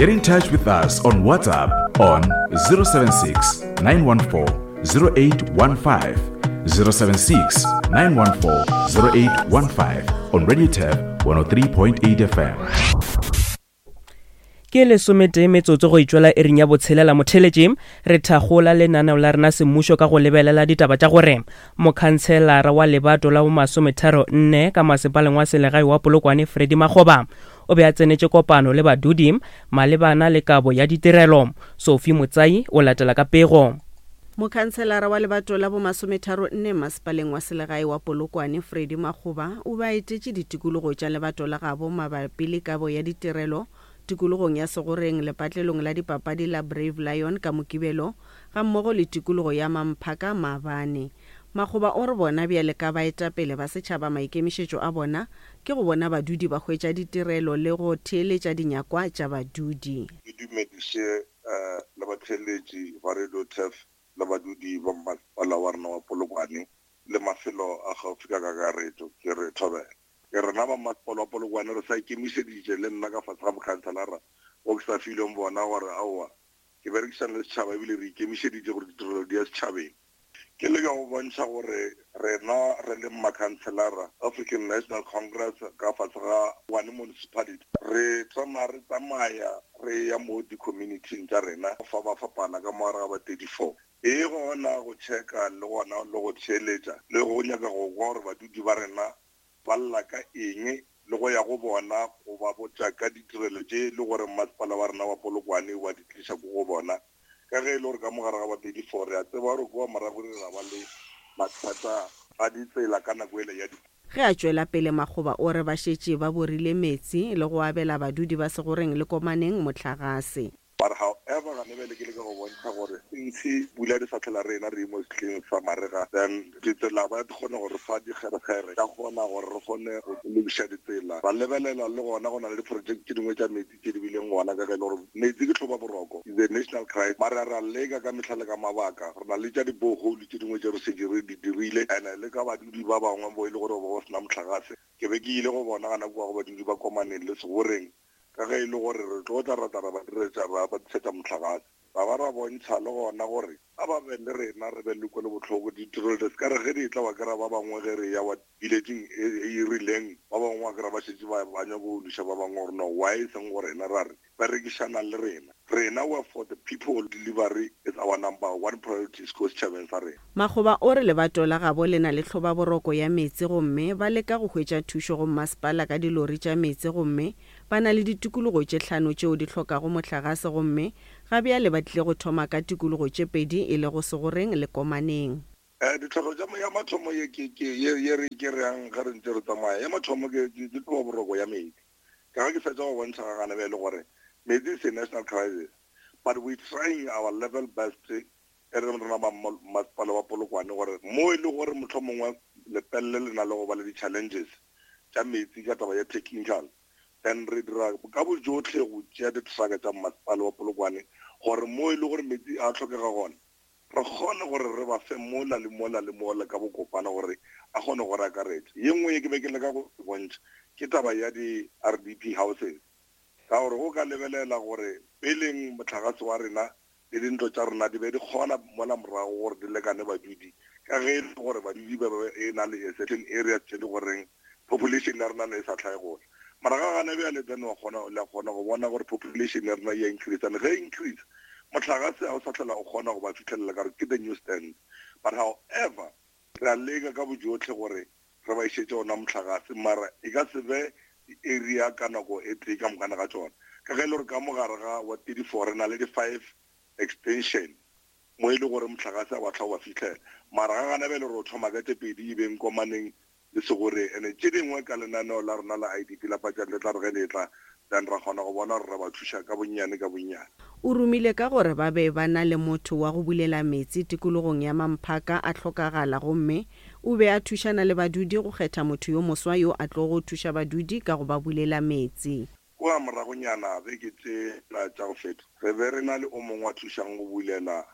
Get in touch with us on WhatsApp on 076 914 0815. 076 914 0815 on Radio Tab 103.8 FM. Ke lesometee metsotso go itšwela iring ya botshelela motheletši re thagola lenaneo la rena semmušo ka go lebelela ditaba tša gore mokhantshelara wa lebato la bomasometharo nne ka masepaleng wa selegae wa Polokwane Freddy Makgoba o be a tsenetše kopano le badudi malebana le kabo ya ditirelo. Sophie Motsai o latela ka pego. Mokhanselara wa lebato la bomasometharo-nne masepaleng wa selegae wa Polokwane, Freddy Makgoba, o be a etetše ditikologo tša lebato la gabo mabapi le kabo ya ditirelo tikologong ya Segoreng, lepatlelong la dipapadi la Brave Lion ka Mokibelo, gammogo le tikologo ya Mamphaka maabane. Makgoba o re bona bjale ka baetapele ba setšhaba maikemišetšo a bona ke go bona badudi ba hwetša ditirelo le go theeletša dinyakwa tša badudi. Ke dumediše le batheeletši ba Radio Turf le badudi ba mmasepala wa rena wa Polokwane le mafelo a gaufi ka kakaretšo. Ke re thobela. Ke rena ba mmasepala wa Polokwane re sa ikemišeditše le nna ka fase ga mokhanselara wo ke sa filweng bona gore aowa ke berekišana le setšhaba ebile re ikemišeditše gore ditirelo di ya setšhabeng. Ke leka go bontšha gore rena re le makhanselara African National Congress ka fase ga Tshwane Municipality re tsamaya re tsamaya re ya mo di-community-ing tša rena go fapafapana ka mo gare ga ba 34. E gona go checka le gona le go theeletša le go nyaka go kwa gore badudi ba rena ba lla ka eng le go ya go bona go ba botša ka ditirelo tše e le gore mmasepala wa rena wa Polokwane wa di tliša ko go bona. Ka ge e le gore ka mo gare ga ba 34 re a tseba gore kua morago re ra ba le mathata a ditsela ka nako yela ya di. Ge a tšwela pele Makgoba o re ba šetše ba borile meetse le go abela badudi ba Segoreng le Komaneng mohlagase. But however gane bjale ke leka go bontšha gore since pula di sa tlhela re ena re mo sehleng sa marega then ditsela ba di kgone go re fa dikgerekgere ka kgona gore re kgone go lokiša ditsela ra lebelela le gona go na le di-project tše dingwe tša metsi tše di bileng gona ka ge e le gore metsi ke tlhoba boroko is a national crisis mara ra leka ka mehla le ka mabaka re na le tša di-borehole tše dingwe tše re šetše re di dirile and-e le ka badudi ba bangwe bo e le gore ba ba sena mohlagase ke be ke ile go bona gana kua go badudi ba Komaneng le Segoreng Ka ge e le gore re tlo tla ra tla ra ba diretša, ra ba tlišetša mohlagase, ra ba ra bontšha le gona gore a ba be le rena, re be le kwelobohloko. Ditirelo di se ka re ge di etla wa kry-a ba bangwe ge re eya wa village-ing e e rileng, ba bangwe wa kry-a ba šetše ba ba nyaka go loša ba bangwe gore no why e seng go rena, ra re berekišanang le rena. Rena we are for the people, delivery is our number one priority ko setšhabeng sa rena. Makgoba o re lebato la gabo le na le tlhobaboroko ya meetse gomme ba leka go hwetša thušo go mmasepala ka dilori tša meetse gomme ba na le ditikologo tše hlano tšeo di hlokago mohlagase gomme ga bjale ba tlile go thoma ka tikologo tše pedi e lego Segoreng le Komaneng. Ditlhohlo tša ya mathomo ye ke ke ye ye re ke reyang ge re ntše re tsamaya, ya mathomo ke ke ke tlhobaboroko ya meetse. Ka ge ke fetša go bontšha ga gana bjale gore meetse is a national crisis but we trying our level best e re rena ba mmasepala wa Polokwane gore mo e le gore mohlomongwe Lepelle le na le go ba le di-challenges tša meetse ka taba ya technical then re dira ka bojohle go tšea di-truck tša mmasepala wa Polokwane gore mo e le gore meetse a hlokega gona re kgone gore re ba fe mola le mola le mola ka bokopana gore a kgone go re akaretša. Ye nngwe ye ke be ke leka go e bontšha ke taba ya di-R_D_P houses ka gore go ka lebelela gore peleng mohlagase wa rena le dintlo tša rena di be di kgona mola morago gore di lekane badudi ka ge e le gore badudi ba be e na le a certain areas tše di goreng population ya rena ne e sa hlae gola mara ga gana bjale then wa kgona le kgona go bona gore population ya rena ya increase and ge increase mohlagase ga o sa hlola o kgona go ba fihlelela ka gore ke the new stand but however re a leka ka bojotlhe gore re ba išetše ona mohlagase mara e ka se be di-area ka nako e tee ka mokana ga tšona ka ge e le gore ka mogare ga wa 34 re na le di-five extension mo e le gore mohlagase a wa tlha o ba fihlela mara ga gana bjale re o thoma ka tše pedi e beng komaneng le segoreng ene tše dingwe ka lenaneo la rena la IDP la budget le tla re ge le etla then ra kgona go bona gore re ba thuša ka bonnyane ka bonnyane. O rumile ka gore ba be ba na le motho wa go bulela meetse tikologong ya Mamphaka a hlokagala gomme o be a thušana le badudi go kgetha motho yo moswa yo a tlogo thuša badudi ka go ba bulela meetse. Kua moragonyana beke tšela tša go feta, re be re na le o mongwe a thušang go bulela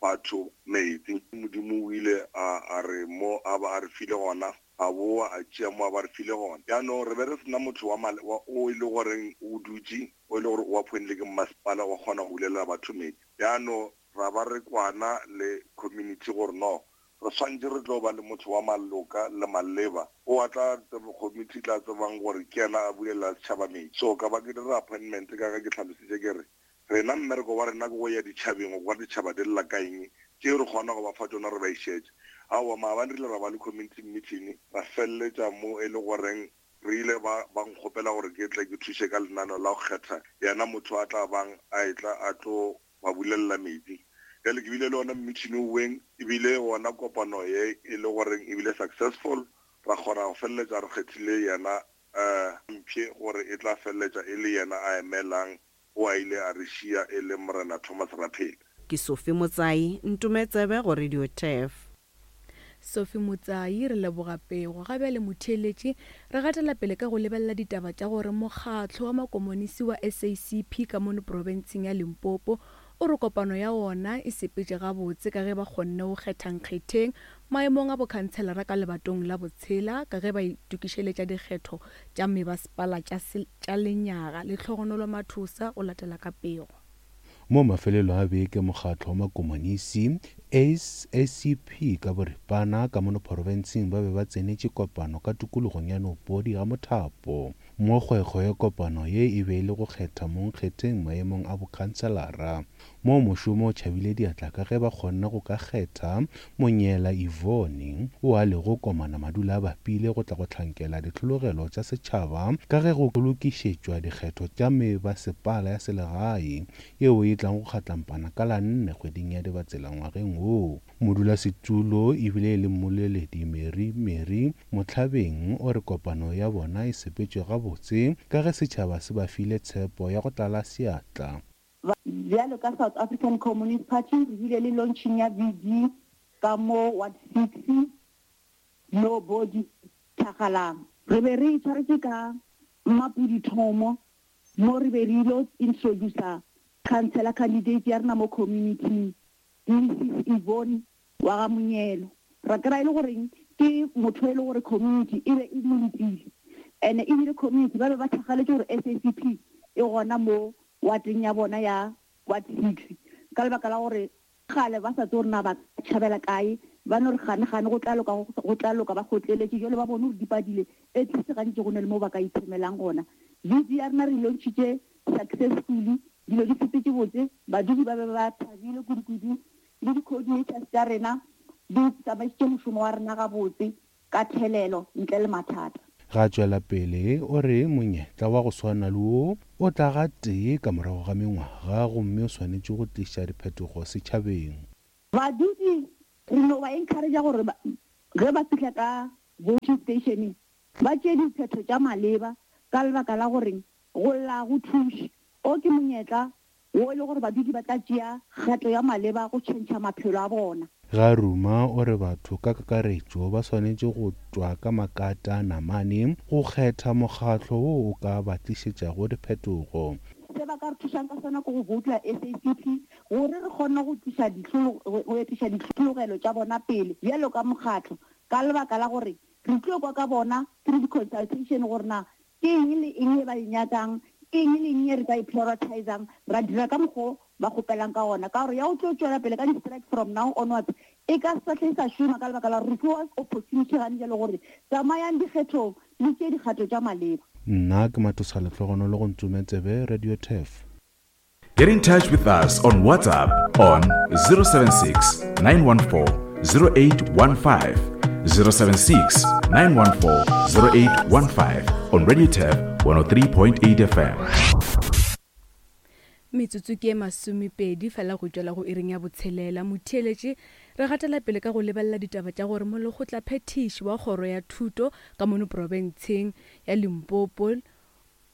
batho meetse. Modimo o ile a, a re mo a ba a re file gona. A boa a tšea mo a ba re file gona. Bjano re be re se na motho wa male, wa, o e le goreng o dutše, o e le gore o appointile ke mmasepala wa kgona go bulela batho metsi. Bjano ra ba re kwana le community gore no, re swanetše re tlo ba le motho wa maloka le maleba o a tla tseba, community e tla tsebang gore ke yena a bulela setšhaba metsi. So ka ba ke dira appointment ka ge ke hlalositše ke re, Rena mmereko wa rena ke go ya ditšhabeng go kwa ditšhaba di lla ka eng, tšeo re kgona go ba fa tšona re ba išetše. Aowa, maabane re ile ra ba le community meeting, ra feleletša mo e le goreng re ile ba, ba nkgopela gore ke tle ke thuše ka lenaneo la go kgetha yena motho a tla bang a etla a tlo ba bulelela metsi. Bjale ke bile le ona meeting oweng, e bile gona kopano ye e le goreng e bile successful, ra kgona go feleletša re kgethile yena Mpšhe gore e tla feleletša e le yena a emelang o a ile a re šia e le Morena Thomas Raphele. Ke Sophie Motsai, Ntume Tsebe go Radio Turf. Sophie Motsai, Re leboga pego. Ga bjale motheeletši, re gatela pele ka go lebelela ditaba tša gore mokgatlo wa makomonisi wa SACP ka mono profenseng ya Limpopo o re kopano ya wona e sepetše gabotse ka ge ba kgonne go kgetha nkgetheng maemong a bokhanselara ka lebatong la botshela ka ge ba itokišeletša dikgetho tša mebasepala tša tša lenyaga. Lehlogonolo Mathosa o latela ka pego. Mo mafelelong a beke mokgatlo wa makomonisi, SACP ka boripana, ka mono phorobentsheng ba be ba tsenetše kopano ka tikologong ya Nopodi ga Mothapo. Mo kgwekgwe ya kopano ye e be e le go kgetha mongkgetheng maemong a bokhanselara. Mo mošomo o tšhabile diatla ka ge ba kgonne go ka kgetha Monyela Yvonne o a lego komana madula a bapile go tla go hlankela dihlologelo tša setšhaba ka ge go lokišetšwa dikgetho tša mebasepala ya selegae yeo e tlang go kgatlampana ka la nne kgweding ya Dibatsela ngwageng wo. Modulasetulo ebile e le mmoleledi Mary Mary Mohlabeng o re kopano ya bona e sepetše gabotse ka ge setšhaba se ba file tshepo ya go tlala seatla. Bjalo ka South African Communist Party re bile le launching ya VD ka mo Ward 6 no body Thakgalang. Re be re itshwaretše ka Mmapudi Thomo mo re be re ilo introducer councillor candidate ya rena mo community Mrs Yvonne wa ga Monyelo. Ra kry-a e le goreng ke motho e le gore community e be e mo letile and ebile community ba be ba thakgaletše gore SACP e gona mo wateng ya bona ya ward 6 ka lebaka la gore kgale ba sa tsebe gore na ba ka tšhabela kae, ba no re gane gane go tla loka go tla loka ba kgotleletše jwale ba bone gore di padile at least gantši go ne le mo ba ka itshemelang gona. VD ya rena re e launchitše successfully, dilo di sepetše botse, badudi ba be ba thabile kudu-kudu le di-coordinators tša rena di tsamaišitše mošomo wa rena gabotse ka thelelo ntle le mathata. Ga tšwela pele o re monyetla wa go swana le wo o tla ga tee ka morago ga mengwaga gomme o swanetše go tliša diphetogo setšhabeng. Badudi re no ba encourage-a gore ge ba fihla ka voting station ba tšee diphetho tša maleba ka lebaka la gore go lla ga go thuše. O ke monyetla wo e le gore badudi ba tla tšea kgato ya maleba go tšhentšha maphelo a bona. Garuma o re batho ka kakaretšo ba swanetše go tšwa ka makata a namane go kgetha mokgatlo wo o ka ba tlišetšago diphetogo. Se ba ka re thušang ka sona ke go voutela SACP gore re kgone go tliša go etiša dihlologelo tša bona pele bjalo ka mokgatlo ka lebaka la gore re tlo kwa ka bona through di-consultation gore na Ke eng le eng ye ba e nyakang, ke eng le eng ye re ka e prioritizang, ra dira ka mokgwa o ba kgopelang ka gona. Ka gore ya go tlo tšwela pele ka di-strike from now onwards e ka se sa hle e sa šoma ka lebaka la gore re fiwa opportunity gane bjale gore tsamayang dikgethong le tšee dikgato tša maleba. Nna ke Mathosa Lehlogonolo go Ntsume Tsebe, Radio Turf. Get in touch with us on WhatsApp on 076 914 0815. 076 914 0815 on Radio Turf 103.8 FM. Metsotso ke e masomepedi fela go tšwela go iring ya botshelela. Motheeletši, re gatela pele ka go lebelela ditaba tša gore molekgotlaphethiši wa kgoro ya thuto ka mono profenseng ya Limpopo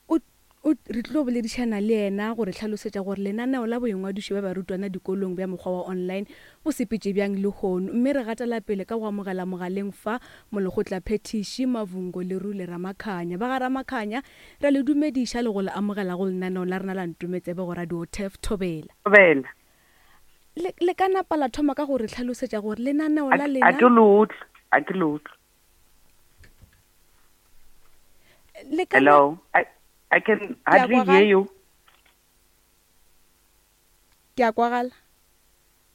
O, o, re tlilo boledišana le yena go re hlalosetša gore lenaneo la boingwadišo bja barutwana dikolong bja mokgwa wa online bo sepetše bjang lehono. Mme re gatela pele ka go amogela mogaleng fa Molekgotlaphethiši Mavhungo Lerule Ramakhanya. Ba ga Ramakhanya, re a le dumediša le go le amogela go lenaneo la rena la Ntometsebe go Radio Turf Thobela. Thobela. Le, le ka napa la thoma ka go re hlalosetša gore lenaneo A, la a lena. ke le utlwe, a ke le utlwe. Le ka Hello, I can hardly hear you. Ke a kwagala.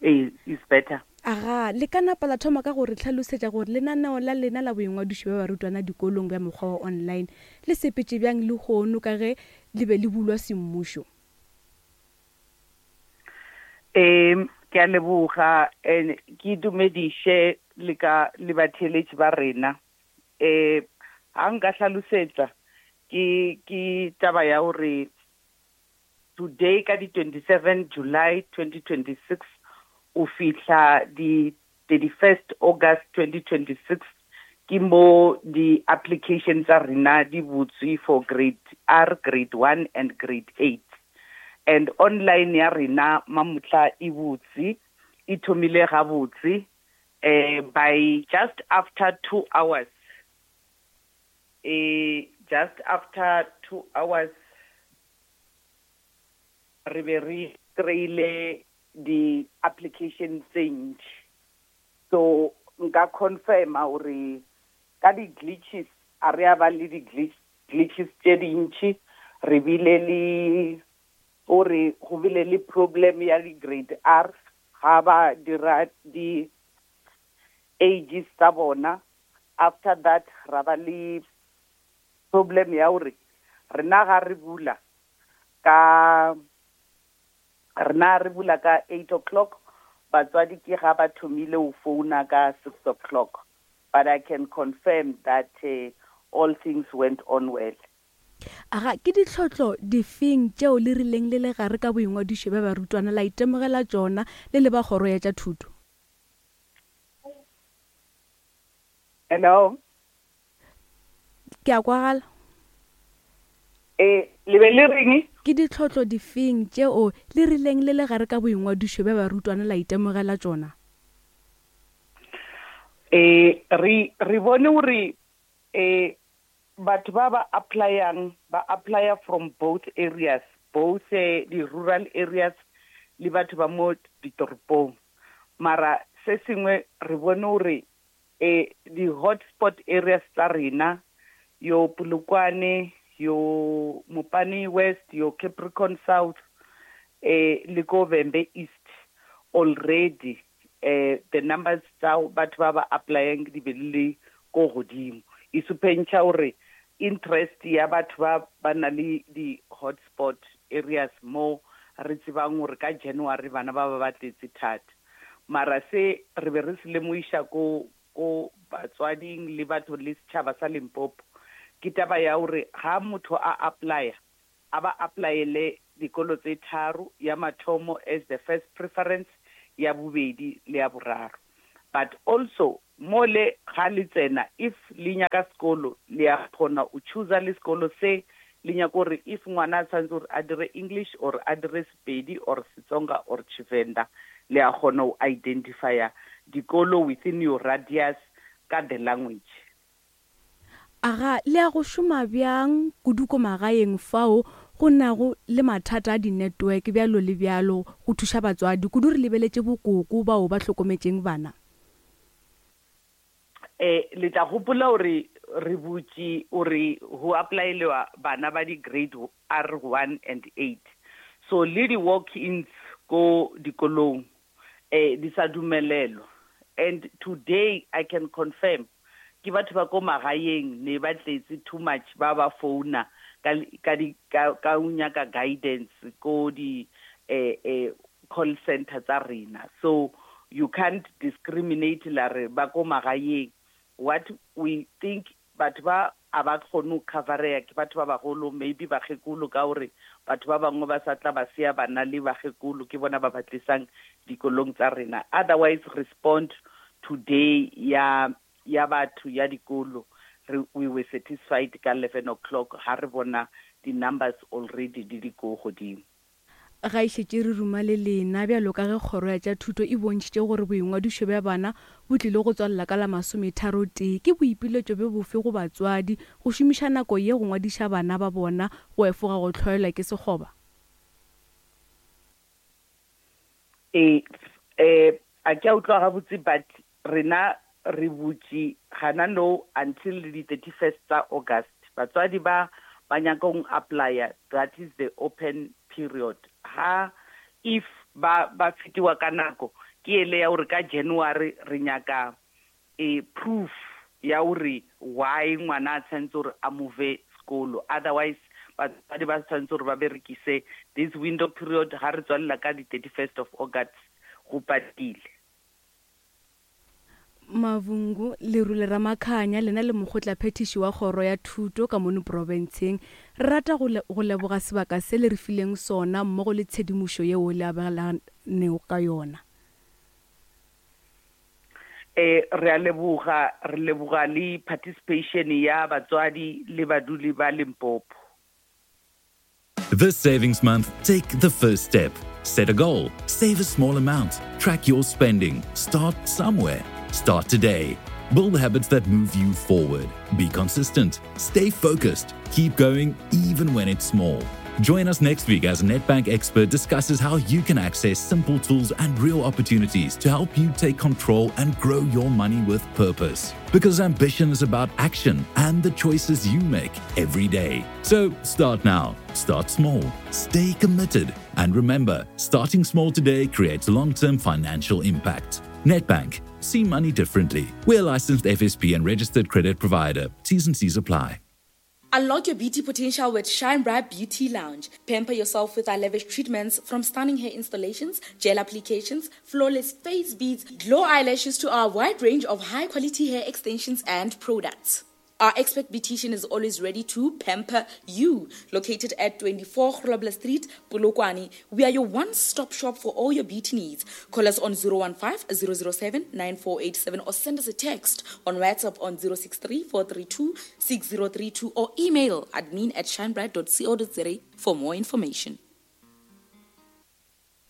Ee, it's better. Aga, le ka napa la thoma ka go re hlalosetša gore lenaneo la lena la boingwadišo bja barutwana dikolong bja mokgwa wa online le sepetše bjang lehono ka ge le be le bulwa semmušo? Ee, ke a leboga and ke dumediše le ka le batheeletši ba rena. Eh, ha nka hlalosetsa ke ke taba ya gore today ka di 27 July 2026 o fihla di 31st August 2026 ke mo di application tsa rena di butswe for grade R, grade 1 and grade 8. And online ya rena mamutla e butse e thomile gabotse eh by just after 2 hours eh just after 2 hours re be re kry-ile di-application tse ntši. So nka confirma gore ka di-glitches, a re a ba le di-glitches tše dintši, re bile le gore go bile le problem ya di-grade R ga ba dira di-ages tsa bona. After that ra ba le problem ya gore rena ga re bula ka rena re bula ka 8 o'clock, batswadi ke ga ba thomile go founa ka 6 o'clock, but I can confirm that all things went on well. Aga, ke ditlhohlo difeng tšeo le rileng le le gare ka boingwadišo bja barutwana la itemogela tšona le le ba Kgoro ya tša Thuto? Hello. Ke a kwagala. Ee, le be le reng? Ke ditlhohlo difeng tšeo le rileng le le gare ka boingwadišo bja barutwana la itemogela tšona? Ee, re, re bone gore ee, batho ba ba applyang ba applya from both areas, both di-rural areas le batho ba mo ditoropong. Mara se sengwe re bone gore E, di-hotspot areas tsa rena, yo Polokwane, yo Mopani West, yo Capricorn South, e, le ko Vhembe East, already e, the numbers tsa batho ba ba applyang di be di le ko godimo. E supentšha gore interest ya batho ba ba na le di-hotspot areas mo re tsebang gore ka January bana ba ba ba tletse thata. Mara se re be re se lemoiša ko, ko batswading le batho le setšhaba sa Limpopo, ke taba ya gore ga motho a applya, a ba applyele dikolo tse tharo, ya mathomo as the first preference, ya bobedi le ya boraro. But also mo le ga le tsena if le nyaka sekolo le ya kgona o chooser le sekolo se le nyaka gore if ngwana a tshwanetse gore a dire English or a dire Sepedi or Setsonga or Tshivenda le ya kgona o identifya dikolo within your radius ka the language. Aga le ya go šoma bjang kudu ko magaeng fao go nago le mathata a di-network bjalo le bjalo go thuša batswadi, kudu re lebeletše bokoko bao ba hlokometšeng bana? E, le tla gopola gore re butše gore go applyelewa bana ba di-grade R one and eight. So le di-walk-ins ko dikolong eh di sa dumelelwa. And today I can confirm ke batho ba ko magaeng ne ba tletse too much ba ba founa ka ka di ka ka o nyaka guidance ko di eh eh call center tsa rena. So you can't discriminate la re ba ko magaeng. What we think Batho ba a ba kgone go covereya ke batho ba bagolo, maybe bakgekolo, ka gore batho ba bangwe ba sa tla ba siya bana le bakgekolo, ke bona ba ba tlisang dikolong tsa rena. Otherwise respond today ya ya batho ya dikolo, re we were satisfied ka 11 o'clock ha re bona di numbers already di le ko godimo. Ga e šetše re ruma le lena, bjalo ka ge Kgoro ya tša Thuto e bontšhitše gore boingwadišo bja bana bo tlile go tswalela ka la masometharotee, ke boipiletšo bjo bofe go batswadi go šomiša nako ye go ngwadiša bana ba bona go efoga go hloelwa ke sekgoba? Ee, eh, a ke a utlwa gabotse but rena re butše gana no until di 31st tsa August. Batswadi ba ba nyakong applya that is the open period. Ha if ba ba fetiwa ka nako ke ele ya gore ka January re nyaka e proof ya gore why ngwana a tshwanetse gore a move sekolo otherwise batswadi ba tshwanetse gore ba berekise this window period ga re tswalela ka di 31st of August go patile. Mavungu, Lerule Ramakhanya, lena le mokgotlaphethiši wa Kgoro ya Thuto ka mono profenseng, re rata go le, go leboga sebaka se le re fileng sona mmogo le tshedimošo yeo le abelanego ka yona. E, re a leboga, re leboga le participation ya batswadi le baduli ba Limpopo. This savings month, take the first step. Set a goal, save a small amount, track your spending, start somewhere. Start today. Build habits that move you forward. Be consistent, stay focused, keep going even when it's small. Join us next week as Nedbank expert discusses how you can access simple tools and real opportunities to help you take control and grow your money with purpose. Because ambition is about action and the choices you make every day. So start now, start small, stay committed, and remember starting small today creates long term financial impact. Nedbank, see money differently. We're licensed FSP and registered credit provider. T's and C's apply. Unlock your beauty potential with Shine Bright Beauty Lounge. Pamper yourself with our lavish treatments from stunning hair installations, gel applications, flawless face beads, glow eyelashes to our wide range of high quality hair extensions and products. Our expert beautician is always ready to pamper you. Located at 24 Grobler Street, Polokwane, we are your one-stop shop for all your beauty needs. Call us on 015 007 9487 or send us a text on WhatsApp on 063 432 6032 or email admin at shinebright.co.za for more information.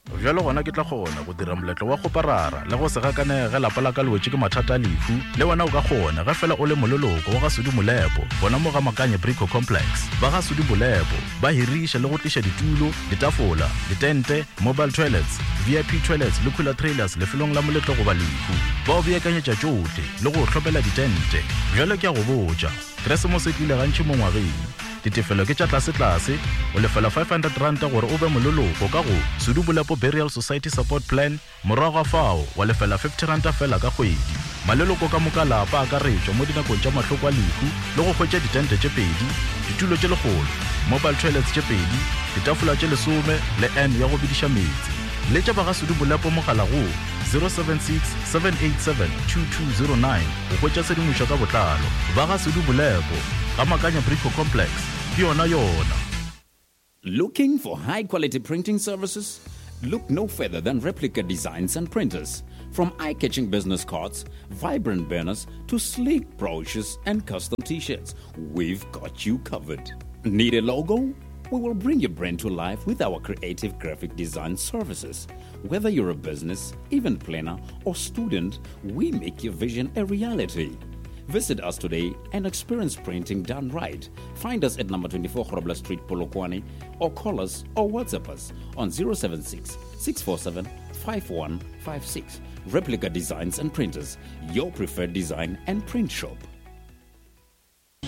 Bjalo gona ke tla kgona go dira moletlo wa kgoparara le go se gakanege ge lapa la ka le wetše ke mathata a lehu. Le wena o ka kgona ge fela o le moleloko wa ga Sudi Molepo gona mo ga Makanye Brico Complex. Ba ga Sudi Molepo ba hiriša le go tliša ditulo, ditafola, ditente, mobile toilets, VIP toilets le cooler trailers lefelong la moletlo goba lehu. Ba o beakanyetša tšohle le go o hlomela ditente. Bjalo ke a go botša, Keresemose e tlile gantši mo ngwageng. Ditefelo ke tša tlasetlase, o lefela R500 gore o be moleloko ka go Sudu Bolepo Burial Society Support Plan, morago ga fao wa lefela R50 feela ka kgwedi. Maleloko ka moka a lapa a akaretšwa mo dinakong tša mahloko a lehu le go hwetša ditente tše pedi, ditulo tše lekgolo, mobile toilets tše pedi, ditafola tše lesome le urn ya go bediša meetse. Letša ba ga Sudu Bolepo mogala go 076 787 2209 go hwetša tshedimošo ka botlalo. Ba ga Sudu Bolepo, Ga Makanya Brico Complex, ke yona yona. Looking for high quality printing services? Look no further than Replica Designs and Printers. From eye catching business cards, vibrant banners, to sleek brochures and custom t shirts, we've got you covered. Need a logo? We will bring your brand to life with our creative graphic design services. Whether you're a business, event planner, or student, we make your vision a reality. Visit us today and experience printing done right. Find us at number 24 Grobler Street, Polokwane, or call us or WhatsApp us on 076 647 5156. Replica Designs and Printers, your preferred design and print shop.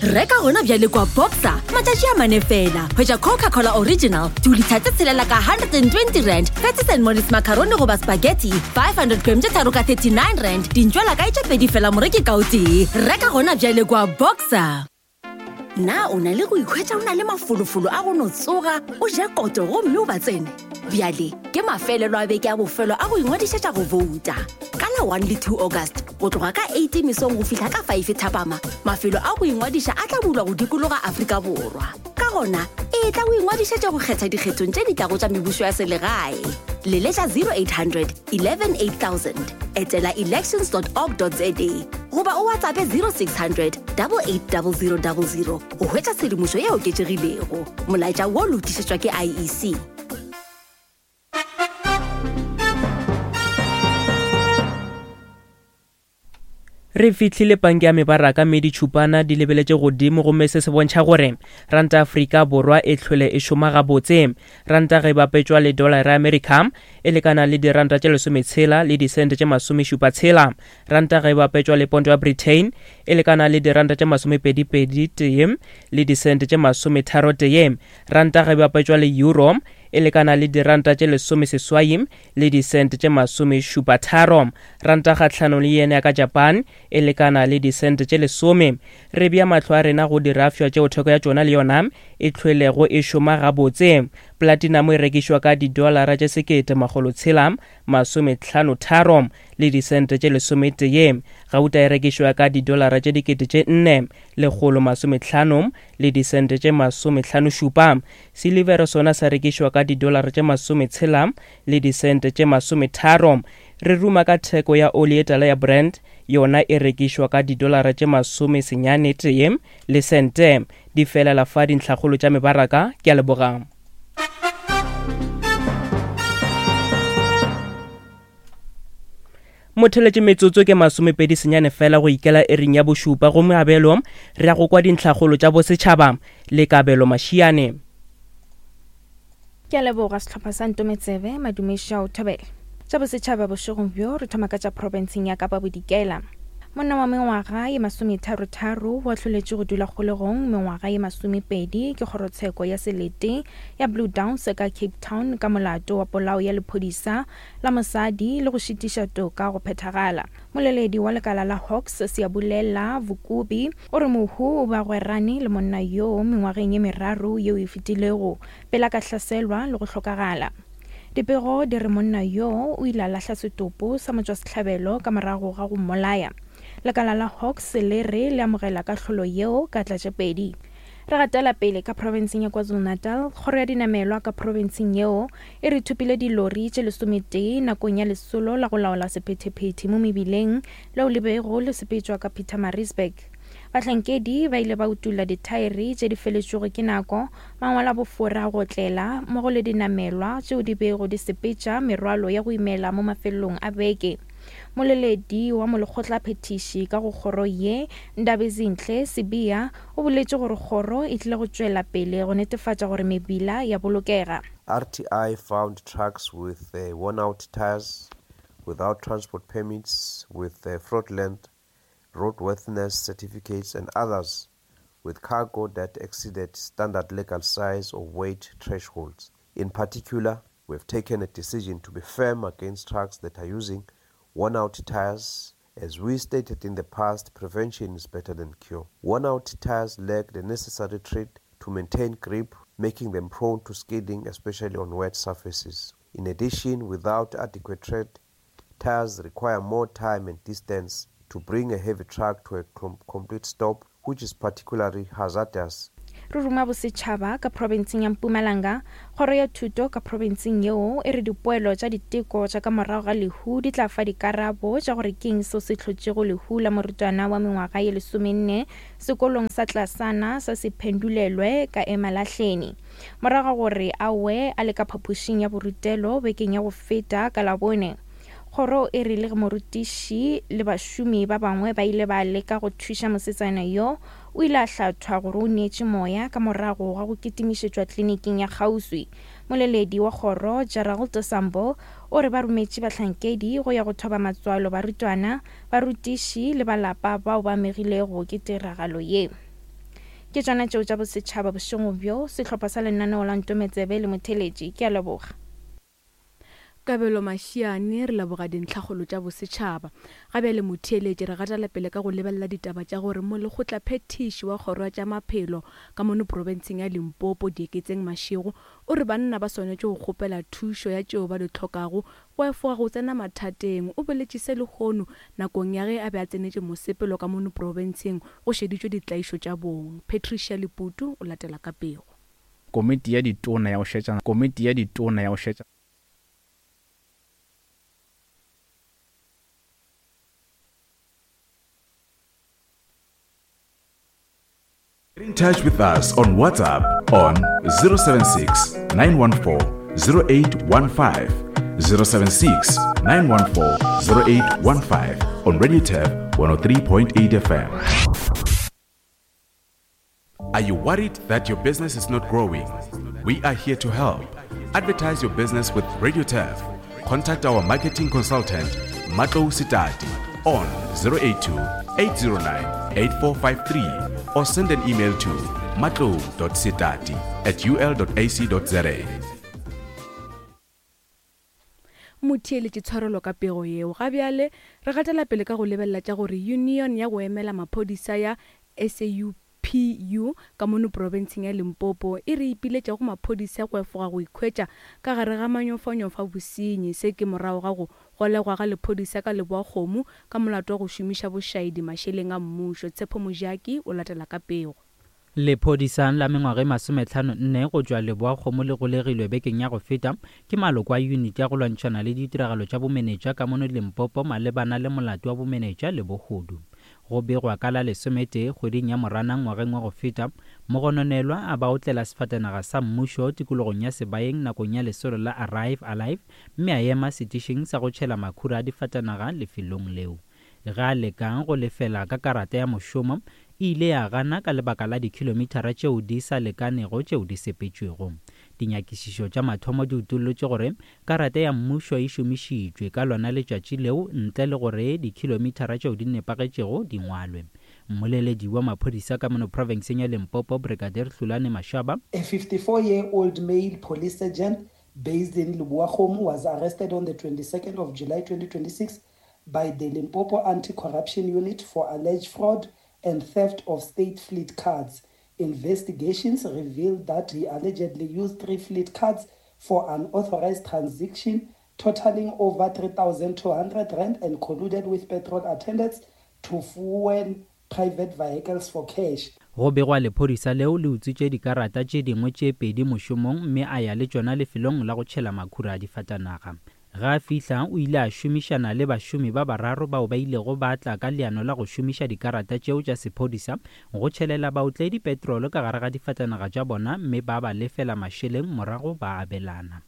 Reka gona bjale kwa Boxer matšatši a mane fela. Hwetša Coca-Cola Original dilitha tse tshelela ka 120 rand, Patties and Mollies macaroni goba spaghetti 500 gram tše tharo ka 39 rand, dintšwela kae tše pedi fela moreki ka o tee. Reka gona bjale kwa Boxer. Na o na le go ikhwetša o na le mafolofolo a go no tsoga o je koto gomme o ba tsene? Bjale ke mafelelo a beke a bofelo a go ingwadišetša go bouta. Ka la 1 le 2 August, Go tloga ka 8 mesong go fihla ka 5 thapama, mafelo a go ingwadiša a tla bulwa go dikologa Afrika Borwa. Ka gona, etla o ingwadišetše go kgetha dikgethong tše di tlago tša mebušo ya selegae. Leletša 0800 11 8000, etela elections.org.za goba o WhatsAppe 0600 880000 go hwetša tshedimošo e oketšegilego. Molaetša wo lotišetšwa ke IEC. Re fihlile panke ya mebaraka mme ditšhupana di lebeletše godimo gomme se se bontšha gore ranta Afrika Borwa e hlwele e šoma gabotse. Ranta ge e bapetšwa le dolara ya Amerika e lekana le diranta tše lesometshela le disente tše masomešupatshela. Ranta ge e bapetšwa le ponto ya Britain e lekana le diranta tše masomepedipedi tee le disente tše masometharotee. Ranta ge e bapetšwa le euro e lekana le diranta tše lesomeseswai le disente tše masomešupatharo. Ranta kgahlanong le yen ya ka Japan e lekana le disente tše lesome. Re bea mahlo a rena go dirafšwa tšeo theko ya tšona le yona e hlwelego e šoma gabotse. Platinamo e rekišwa ka didolara tše 1653 le disente tše lesometee. Gauta e rekišwa ka didolara tše 4150 le disente tše masomehlanošupa. Silivere sona sa rekišwa ka didolara tše masometshela le disente tše masometharo. Re ruma ka theko ya oli ye tala ya Brent, yona e rekišwa ka didolara tše masomesenyane tee le sente. Di felela fa dintlhakgolo tša mebaraka. Ke a leboga. Motheletše metsotso ke masomepedi senyane fela go ikela ering ya bošupa gomme abelo re ya go kwa dintlhakgolo tša bosetšhaba le Kabelo Mashiane. Ke a leboga sehlopha sa Ntometsebe, Madume Šau Thobela. Tša bosetšhaba bošegong bjo re thoma ka tša profenseng ya Kapa Bodikela. Monna wa mengwaga ye masometharotharo o ahloletšwe go dula kgolegong mengwaga ye masomepedi ke kgorotsheko ya selete ya Blue Downs ka Cape Town ka molato wa polao ya lephodisa la mosadi le go šitiša toka go phethagala. Moleledi wa lekala la Hawks, Siyabulela Vukubi, o re mohu o be a gwerane le monna yoo mengwageng ye meraro yeo e fetilego pele a ka hlaselwa le go hlokagala. Dipego di re monna yoo o ile a lahla setopo sa motšwasehlabelo ka morago ga go mmolaya. Lekala la Hawks le re le amogela kahlolo yeo ka tlatšepedi. Re gatela pele ka profenseng ya KwaZulu-Natal, kgoro ya dinamelwa ka profenseng yeo e re thopile dilori tše lesometee nakong ya lesolo la go laola sephethephethe mo mebileng leo le bego le sepetšwa ka Pietermaritzburg. Bahlankedi ba ile ba utolla dithaere tše di feletšwego ke nako, mangwalo a bofora a go otlela, mmogo le dinamelwa tšeo di bego di sepetša merwalo ya go imela mo mafelelong a beke. Moleledi wa molekgotlaphethiši ka go kgoro ye, Ndabezinhle Sibiya, o boletše gore kgoro e tlile go tšwela pele go netefatša gore mebila ya bolokega. RTI found trucks with worn-out tyres, without transport permits, with fraudulent roadworthiness certificates and others with cargo that exceeded standard legal size or weight thresholds. In particular, we have taken a decision to be firm against trucks that are using worn-out tyres. As we stated in the past, prevention is better than cure. Worn-out tyres lack the necessary tread to maintain grip, making them prone to skidding, especially on wet surfaces. In addition, without adequate tread, tires require more time and distance to bring a heavy truck to a complete stop, which is particularly hazardous. Re ruma bosetšhaba ka profenseng ya Mpumalanga. Kgoro ya Thuto ka profenseng yeo e re dipoelo tša diteko tša ka morago ga lehu di tla fa dikarabo tša gore keng seo se hlotšego lehu la morutwana wa mengwaga ye lesomenne sekolong sa tlasana sa Sephendulelwe ka Emalahleni morago ga gore a we a le ka phapošing ya borutelo bekeng ya go feta ka Labone. Kgoro e re le ge morutiši le bašomi ba bangwe ba ile ba leka go thuša mosetsana yo, o ile a hlathwa gore o neetše moya ka morago ga go kitimišetšwa kliniking ya kgauswi. Moleledi wa kgoro, Gerald Sambo, o re ba rometše bahlankedi go ya go thoba matswalo barutwana, barutiši le ba lapa bao ba amegilego ke tiragalo ye. Ke tšona tšeo tša bosetšhaba bošego bjo, sehlopha sa lenaneo la Ntometsebe le Motheletši. Ke a leboga. Kabelo Mashiane, Re leboga dintlhakgolo tša bosetšhaba. Ga bjale motheeletši re gatela pele ka go lebelela ditaba tša gore molekgotlaphethiši wa kgoro ya tša maphelo ka mono profenseng ya Limpopo, Dieketseng Mashego, o re banna ba swanetše go kgopela thušo ya tšeo ba di hlokago go efoga go tsena mathateng. O boletše se lehono nakong ya ge a be a tsenetše mosepelo ka mono profenseng go šeditšwe ditlaišo tša bong. Patricia Leputu o latela ka pego. Komiti ya Ditona ya go šetšana Komiti ya Ditona ya go šetšana. Get in touch with us on WhatsApp on 076 914 0815. 076 914 0815. on Radio Turf 103.8 FM. Are you worried that your business is not growing? We are here to help. Advertise your business with Radio Turf. Contact our marketing consultant, Matlo Sitati, on 082 809 8453 or send an email to matlo.sitati at ul.ac.za. Motheeletši tshwarelo ka pego yeo. Ga bjale re gatela pele ka go lebelela tša gore Union ya go emela maphodisa ya SAUPU ka mono profenseng ya Limpopo e re ipiletša go maphodisa go efoga go ikhwetša ka gare ga manyofanyofa bosenyi. Se ke morago ga go golegwa ga lephodisa ka Leboakgomo ka molato wa go šomiša bošaedi mašeleng a mmušo. Tshepo Mojaki o latela ka pego. Lephodisa la mengwaga e masometlhano-nne go tšwa Leboakgomo le golegilwe bekeng ya go feta ke maloko a yuniti ya go lwantšhana le ditiragalo tša bomenetša ka mono Limpopo malebana le molato wa bomenetša le bohodu. Go begwa ka la lesometee kgweding ya Moranang ngwageng wa go feta, mogononelwa a ba otlela sefatanaga sa mmušo tikologong ya Sebayeng nakong ya lesolo la Arrive Alive mme a ema setišing sa go tšhela makhura a difatanaga lefelong leo. Ge a leka go lefela ka karata ya mošomo, e ile ya gana ka lebaka la dikhilomithara tšeo di sa lekanego tšeo di sepetšwego. Dinyakišišo tša mathomo di utollotše gore karata ya mmušo e šomišitšwe ka lona letšatši leo ntle le gore dikhilomithara tšeo di nepagetšego di ngwalwe. Mmoleledi wa maphodisa ka mono profenseng ya Limpopo, Brigadier Hlulani Mashaba, A 54-year-old male police sergeant based in Leboa was arrested on the 22nd of July 2026 by the Limpopo Anti-Corruption Unit for alleged fraud and theft of state fleet cards. Investigations revealed that he allegedly used three fleet cards for unauthorized transaction totaling over 3,200 rand and colluded with petrol attendants to fuel private vehicles for cash. Go begwa lephodisa leo le utswitše dikarata tše dingwe tše pedi mošomong mme a ya le tšona lefelong la go tšhela makhura a difatanaga. Ge a fihla, o ile a šomišana le bašomi ba bararo bao ba ilego ba tla ka leano la go šomiša dikarata tšeo tša sephodisa go tšhelela baotledi petrolo ka gare ga difatanaga tša bona mme ba ba lefela mašeleng morago ba abelana.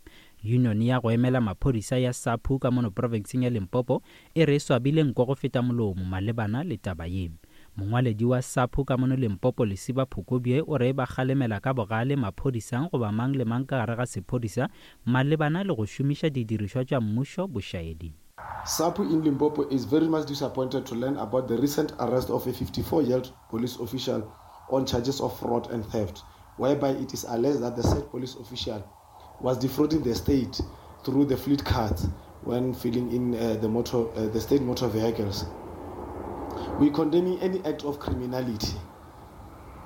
Yunione ya go emela maphodisa ya SAPU ka mono profenseng ya Limpopo e re e swabile nko go feta molomo malebana le taba ye. Mongwaledi wa SAPU ka mono Limpopo Lesiba Phukubye o re ba kgalemela ka bogale maphodisa goba mang le mang ka gare ga sephodisa malebana le go šomiša didirišwa tša mmušo bošaedi. SAPU in Limpopo is very much disappointed to learn about the recent arrest of a 54-year-old police official on charges of fraud and theft, whereby it is alleged that the said police official was defrauding the state through the fleet cards when filling in uh, the, motor, uh, the state motor vehicles. We're condemning any act of criminality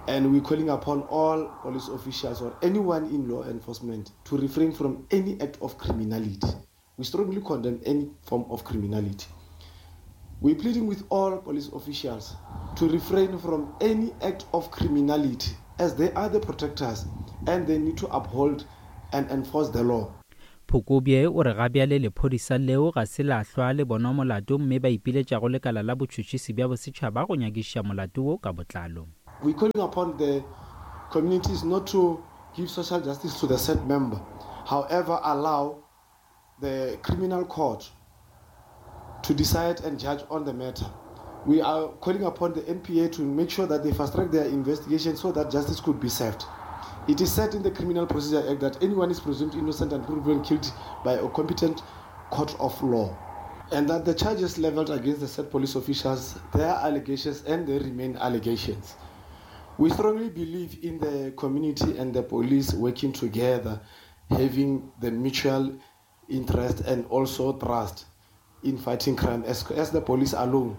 and we're calling upon all police officials or anyone in law enforcement to refrain from any act of criminality. We strongly condemn any form of criminality. We're pleading with all police officials to refrain from any act of criminality as they are the protectors and they need to uphold and enforce the law. Phukubye o re gabjale lephodisa leo ga se la hlwa le bonwa molato mme ba ipiletša go lekala la botšhotšhisi bja bosetšhaba go nyakišiša molato wo ka botlalo. We're calling upon the communities not to give social justice to the said member, however allow the criminal court to decide and judge on the matter. We are calling upon the NPA to make sure that they fast track their investigation so that justice could be served. It is said in the Criminal Procedure Act that anyone is presumed innocent and proven guilty by a competent court of law. And that the charges leveled against the said police officials, they are allegations and they remain allegations. We strongly believe in the community and the police working together, having the mutual interest and also trust in fighting crime. As, as the police alone,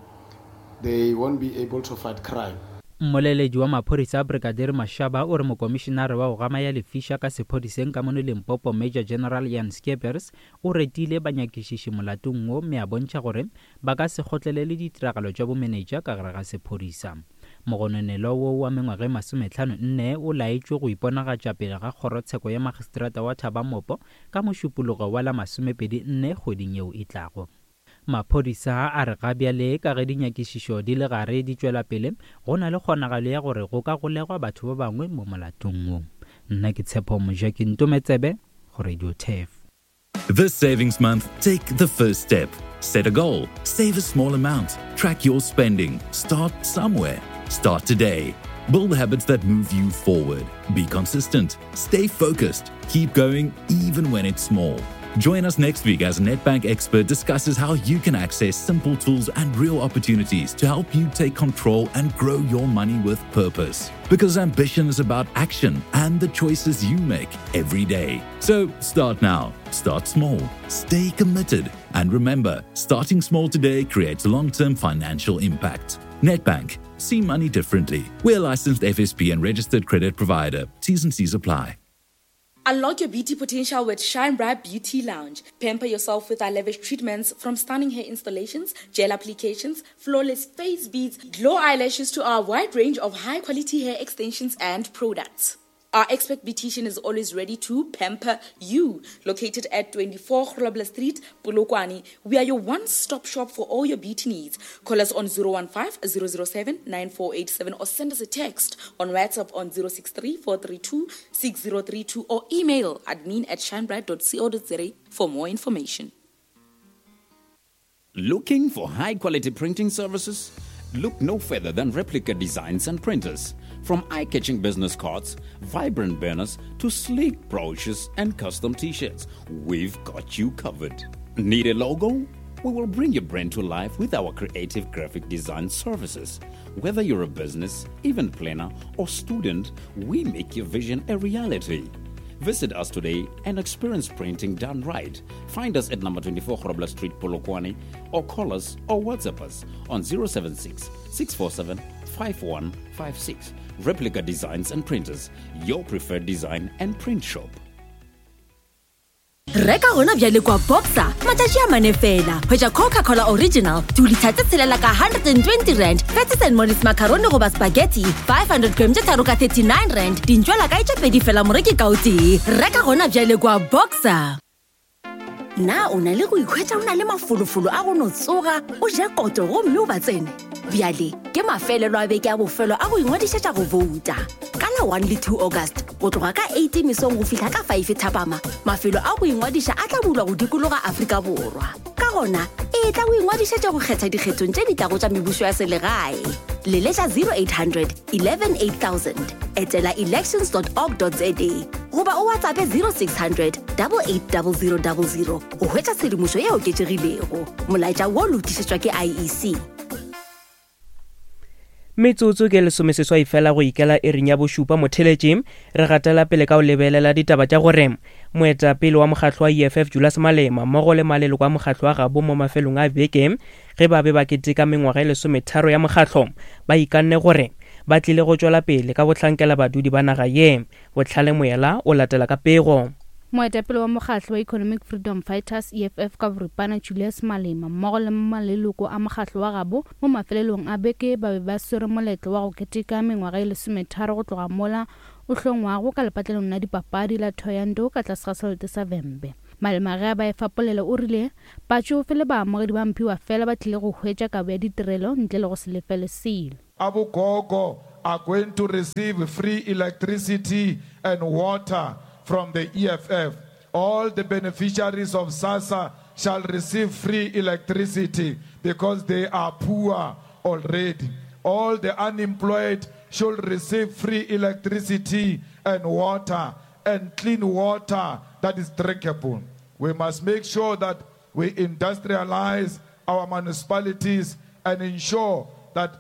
they won't be able to fight crime. Mmoleledi wa maphodisa Brigadier Mashaba o re mokomišenare wa go gama ya lefiša ka sephodiseng ka mono Limpopo Major General Jan Skeepers o retile banyakišiši molatong wo mme a bontšha gore ba ka se kgotlelele ditiragalo tša bomenetša ka gare ga sephodisa. Mogononelwa wo wa mengwaga e masometlhano-nne o laetšwe go iponagatša pele ga kgorotsheko ya magistrata wa Thabamopo ka Mošupologo wa la masomepedi-nne kgweding yeo e tlago. Maphodisa a re ga bjale ka ge dinyakišišo di le gare di tšwela pele, go na le kgonagalo ya gore go ka golegwa batho ba bangwe mo molatong wo. Nna ke Tshepo Mojaki Ntometsebe go Radio Turf. This Savings Month, take the first step. Set a goal, save a small amount, track your spending, start somewhere. Start today. Build habits that move you forward. Be consistent, stay focused, keep going even when it's small. Join us next week as Nedbank expert discusses how you can access simple tools and real opportunities to help you take control and grow your money with purpose. Because ambition is about action and the choices you make every day. So start now, start small, stay committed, and remember starting small today creates long term financial impact. Nedbank, see money differently. We're a licensed FSP and registered credit provider. T's and C's apply. Unlock your beauty potential with Shine Bright Beauty Lounge. Pamper yourself with our lavish treatments from stunning hair installations, gel applications, flawless face beads, glow eyelashes to our wide range of high quality hair extensions and products. Our expert beautician is always ready to pamper you. Located at 24 Grobler Street, Polokwane, we are your one-stop shop for all your beauty needs. Call us on 015 007 9487 or send us a text on WhatsApp on 063 432 6032 or email admin at shinebright.co.za for more information. Looking for high quality printing services? Look no further than Replica Designs and Printers. From eye catching business cards, vibrant banners, to sleek brochures and custom t shirts, we've got you covered. Need a logo? We will bring your brand to life with our creative graphic design services. Whether you're a business, event planner, or student, we make your vision a reality. Visit us today and experience printing done right. Find us at number 24 Grobler Street, Polokwane, or call us or WhatsApp us on 076 647 5156. Replica Designs and Printers, your preferred design and print shop. Reka gona bjale kwa Boxer matšatši a mane fela. Hwetša Coca-Cola Original dilitha tše tshelela ka 120 rand, Fatties and Mollies macaroni goba spaghetti 500 gram tše tharo ka 39 rand, dintšwela kae tše pedi fela moreki ka o tee. Reka gona bjale kwa Boxer. Na o na le go ikhwetša o na le mafolofolo a go no tsoga o je koto gomme o ba tsene? Bjale ke mafelelo a beke a bofelo a go ingwadišetša go bouta. Ka la 1 le 2 August, go tloga ka 8 mesong go fihla ka 5 thapama, mafelo a go ingwadiša a tla bulwa go dikologa Afrika Borwa. Ka gona, etla o ingwadišetše go kgetha dikgethong tše di tlago tša mebušo ya selegae. Leletša 0800 11 8000, etela elections.org.za goba o WhatsAppe 0600 880000 go hwetša tshedimošo e oketšegilego. Molaetša wo o lokišetšwa ke IEC. Metsotso ke lesomeseswai fela go ikela iring ya bošupa motheletši re gatela pele ka go lebelela ditaba tša gore moetapele wa mokgatlo wa EFF Julius Malema mmogo le maleloko a mokgatlo wa gabo mo mafelong a beke ge ba be ba keteka mengwaga e lesometharo ya mokgatlo ba ikanne gore ba tlile go tšwela pele ka go hlankela badudi ba naga ye. Bohlale Moyela o latela ka pego. Moetapele wa mokgatlo wa Economic Freedom Fighters, EFF, ka boripana Julius Malema mmogo le maleloko a mokgatlo wa gabo mo mafelelong a beke ba be ba swere moletlo wa go keteka mengwaga e lesometharo go tloga mola o hlongwago ka lepatlelong la dipapadi la Thohoyandou ka tlase ga selete sa Vhembe. Malema ge a ba efa polelo o rile batšofe le baamogedi ba mphiwa fela ba tlile go hwetša kabo ya ditirelo ntle le go se lefele selo. Abogogo are going to receive free electricity and water from the EFF. All the beneficiaries of SASSA shall receive free electricity because they are poor already. All the unemployed should receive free electricity and water and clean water that is drinkable. We must make sure that we industrialize our municipalities and ensure that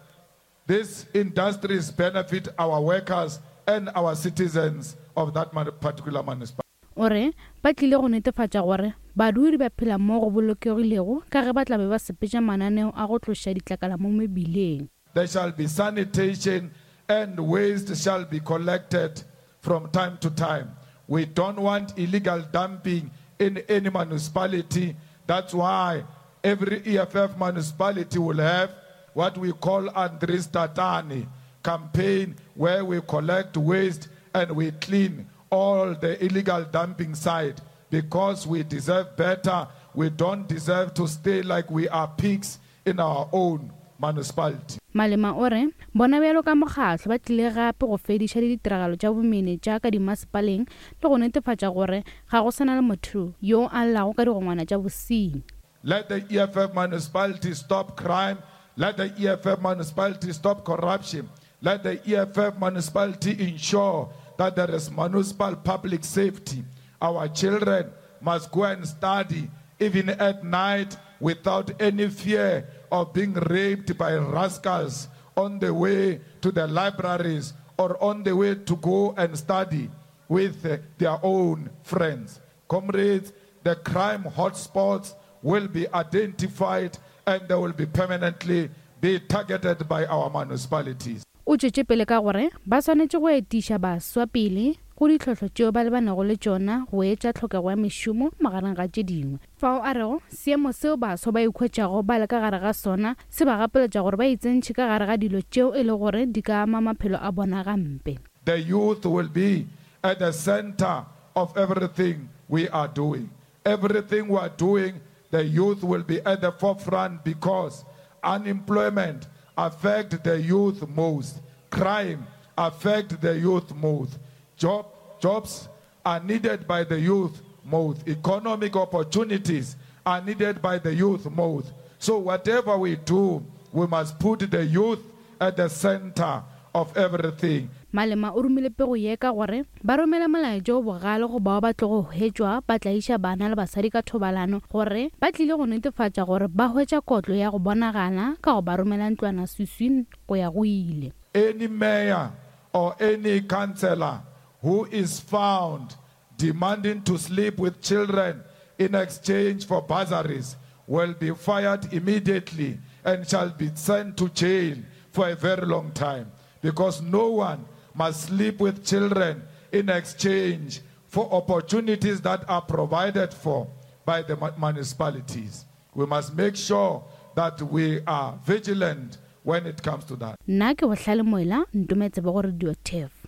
these industries benefit our workers and our citizens of that particular municipality. O re ba tlile go netefatša gore badudi ba phela mo go bolokegilego ka ge ba tla be ba sepetša mananeo a go tloša ditlakala mo mebileng. There shall be sanitation and waste shall be collected from time to time. We don't want illegal dumping in any municipality. That's why every EFF municipality will have what we call Andries Tatane campaign where we collect waste and we clean all the illegal dumping site because we deserve better. We don't deserve to stay like we are pigs in our own municipality. Malema o re bona bjalo ka mokgatlo ba tlile gape go fediša le ditiragalo tša bomenetša ka dimasepaleng le go netefatša gore ga go sa na le motho yo a llago ka digongwana tša bosenyi. Let the EFF municipality stop crime. Let the EFF municipality stop corruption. Let the EFF municipality ensure that there is municipal public safety. Our children must go and study even at night without any fear of being raped by rascals on the way to the libraries or on the way to go and study with their own friends. Comrades, the crime hotspots will be identified and they will be permanently be targeted by our municipalities. O tšwetše pele ka gore ba swanetše go etiša baswa pele go ditlhohlo tšeo ba lebanego le tšona go etša tlhokego ya mešomo magareng ga tše dingwe. Fao a rego seemo seo baswa ba ikhwetšago ba le ka gare ga sona se ba gapeletša gore ba itsentšhe ka gare ga dilo tšeo e le gore di ka ama maphelo a bona gampe. The youth will be at the centre of everything we are doing. Everything we are doing, the youth will be at the forefront because unemployment affect the youth most. Crime affect the youth most. Job, jobs are needed by the youth most. Economic opportunities are needed by the youth most. So whatever we do, we must put the youth at the center of everything. Malema o romile pego ye ka gore ba romela molaetša o bogale go bao ba tlogo hwetšwa ba tlaiša bana le basadi ka thobalano gore ba tlile go netefatša gore ba hwetša kotlo ya go bonagala ka go ba romela ntlwanaswiswing go ya go ile. Any mayor or any councillor who is found demanding to sleep with children in exchange for bursaries will be fired immediately and shall be sent to jail for a very long time because no one must sleep with children in exchange for opportunities that are provided for by the municipalities. We must make sure that we are vigilant when it comes to that. Nna ke Bohlale Moela, ntometse bo go Radio Turf.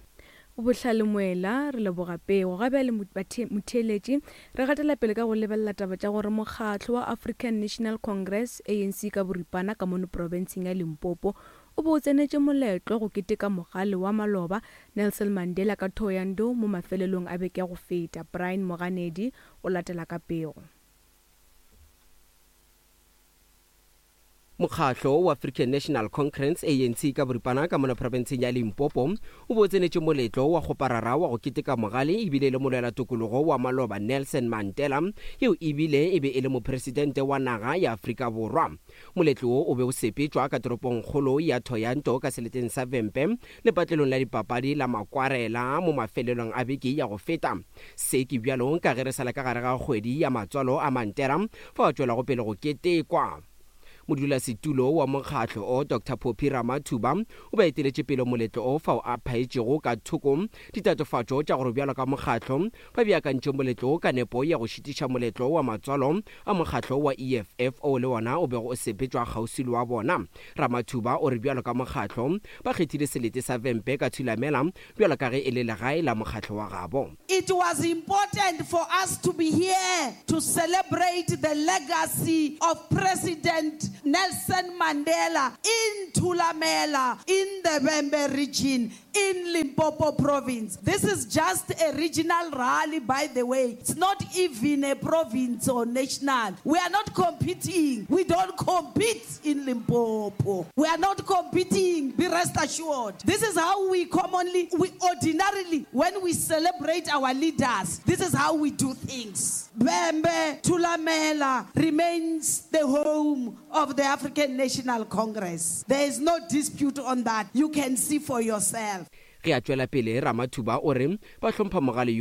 Bohlale Moela, re leboga pego. Ga bjale motheeletši, re gatela pele ka go lebelela taba tša gore mokgatlo wa African National Congress, ANC ka boripana, ka mono profenseng ya Limpopo o be o tsenetše moletlo go keteka mogale wa maloba Nelson Mandela ka Thohoyandou mo mafelelong a beke ya go feta. Brian Moganedi o latela ka pego. Mokgahlo wa African National Congress, ANC, ka boripana ka mola profenseng ya Limpopo o be o tsenetše moletlo wa kgoparara wa go keteka mogale ebile e le molwelatokologo wa maloba Nelson Mandela yeo ebile e be e le mopresidente wa naga ya Afrika Borwa. Moletlo wo o be o sepetšwa ka toropongkgolo ya Thohoyandou ka seleteng sa Vhembe lepatlelong la dipapadi la Makwarela mo mafelelong a beke ya go feta. Se ke bjalo ka ge re sa le ka gare ga kgwedi ya matswalo a Mandela fao a tšwelago pele go ketekwa. Modulasetulo wa mokgatlo o, Doctor Phophi Ramathuba, o be a eteletše pele moletlo o fao a phaetšego ka thoko ditatofatšo tša gore bjalo ka mokgatlo ba beakantše moletlo wo ka nepo ya go šitiša moletlo wa matswalo a mokgatlo wa EFF o le wona o bego o sepetšwa kgauswi le wa bona. Ramathuba o re bjalo ka mokgatlo ba kgethile selete sa Vhembe ka Thulamela bjalo ka ge e le legae la mokgatlo wa gabo. It was important for us to be here to celebrate the legacy of President Nelson Mandela in Thulamela in the Vhembe region in Limpopo province. This is just a regional rally, by the way. It's not even a province or national. We are not competing. We don't compete in Limpopo. We are not competing, be rest assured. This is how we commonly, we ordinarily, when we celebrate our leaders, this is how we do things. Vhembe Thulamela remains the home of the African National Congress. There is no dispute on that. You can see for yourself. Ge a tšwela pele, Ramathuba o re ba hlompha mogale yo.